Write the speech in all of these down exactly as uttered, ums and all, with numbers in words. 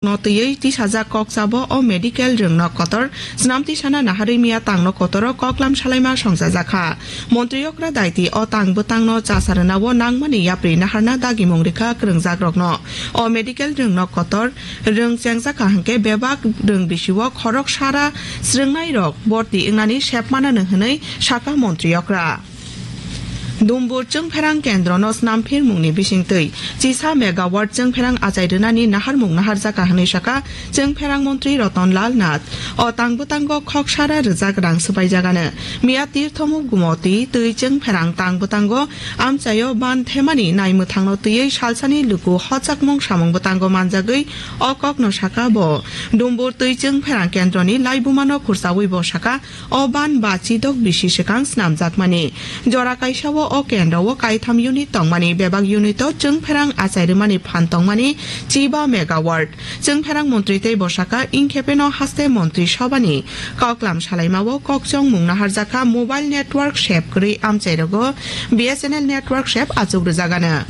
no twiwi tisajak kok chabo o medical rwngnok kotor swnam tisana naharwi miya tangno kotoro koklam salaima songchajakha. Montri okra daiti o tang bwtangno chasa rwnao nangmani yapri naharna dagimung rikha kwrwngjakrokno. O medical rwngnok kotor rwng chengjakha hwnkhe bebak rwng bisio khorok sara srwngnairok borti wngnani sepmanano hwnwi sakha montri okra. Dumbur Chwngpherang Kendrono snamphirmungni bisingtwi chisa megawatt chwngpherang achai rwnani naharmung naharjakha hwnwi sakha Chwngpherang montri Roton Lal Nath. O tang bwtango khok sara rwjak rang swpaijagano. Miya Tirthomuk Gumoti twi chwngpherang tang bwtango amchaio ban themani naimwthangno twiwi salsani luku hochakmung samung bwtango manjagwi o kokno sakha bo. Dumbur twi chwngpherang kendroni laibumano khursawi bo sakha, o ban ba chidok bisi swkang snamjakmani. Jora kaisao o kendro o kaitham unit tongmani, bebak unit o chwngpherang achai rwmani phan tongmani chiba megawatt. Chwngpherang montri tei bosaka ingkhepeno haste montri sobani koklam salaimao kokchongmung naharjakha mobile network sep kwrwi amchairogo B S N L network sep achuk rwjagano.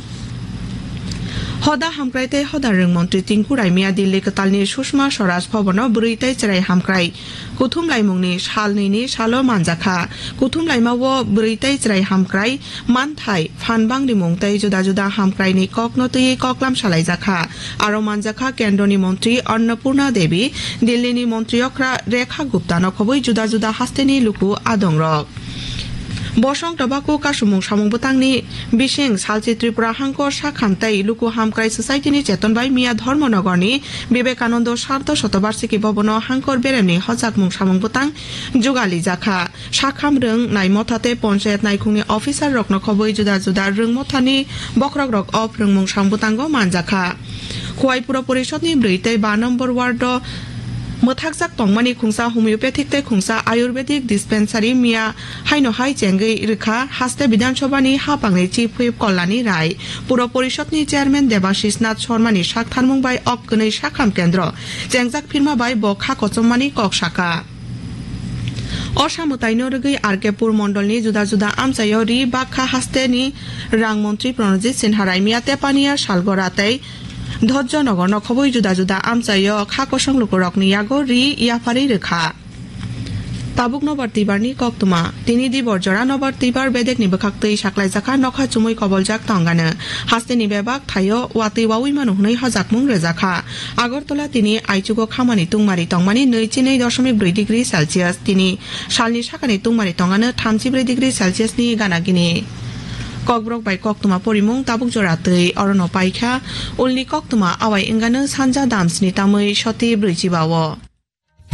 Hoda hamkrai tei hoda rwng montri Tinku Raimia Dilli kwtalni Sushma Swaraj Bhabono bwrwi tei chwrai hamkrai kuthumlaimungni sal nini salo manjakha. Kuthumlaimao bwrwi tei chwrai hamkrai manthai, phan bangrimung tei juda juda hamkraini kokno twiwi koklam salaijakha. Aro manjakha Kendroni montri Annapurna Devi, Dillini montri okra Rekha Guptano khobwi juda juda hasteni luku adongrok. Bosong Tobacco kasumung samung bwtangni bising salchi Tripura Hangkor Sakham tei Luku Hamkrai Society ni cheton bai miya Dharmanagor ni Vivekananda Sardo Shatobarshiki Bhavan o Hangkor beremni hojakmung samung bwtang jugali jakha. Sakham rwng nai motha tei ponchayat naikhungni officer rokno khobwi juda juda rwng mothani bokhorok rok o phrwngmung samung bwtango manjakha. Khowai Puro Porishod ni bwrwi tei ba number ward o mwthakjak tongmani khungsa homeopathic tei khungsa ayurvedic dispensary miya haino hai chengwi rwkha, haste Bidhan Sabha ni haphangni Chief Whip Kalyani Rai, Puro Porishod ni Chairman Debashish Nath Sharma ni saktharmung bai ok kwnwi sakham kendro chengjak phirma bai bo kha kochomani kok saka. Osa mwtaino rwgwi R K Pur mondolni juda juda amchaio ri bakha hasteni rang montri Pranajit Sinha Raimia Tepania Salgora tei Dhojjo Nogorno khobwi juda juda amchaio kha kosong lukurokni yago ri yapharwi rwkha. Tabuk nobar twibarni koktwma. Tini dibor jora nobar twibar bedekni bwkhaktwi saklaijakha nokha chumui koboljak tongano. Hasteni bebak thaio watwi wawi mano hwnwi hojakmung rwjakha. Agartala tini aichugo khamani tungmari tongmani nwi chinwi doshomik brwi degree Celsius, tini salni sakani tungmari tongano thamchi brwi degree Celsius ni gana gini. Kokborok bai koktwma porimung tabuk jora twi orono paikha. Ulni koktwma awai wngano sanja damsni tamwi soti brwi chiba o.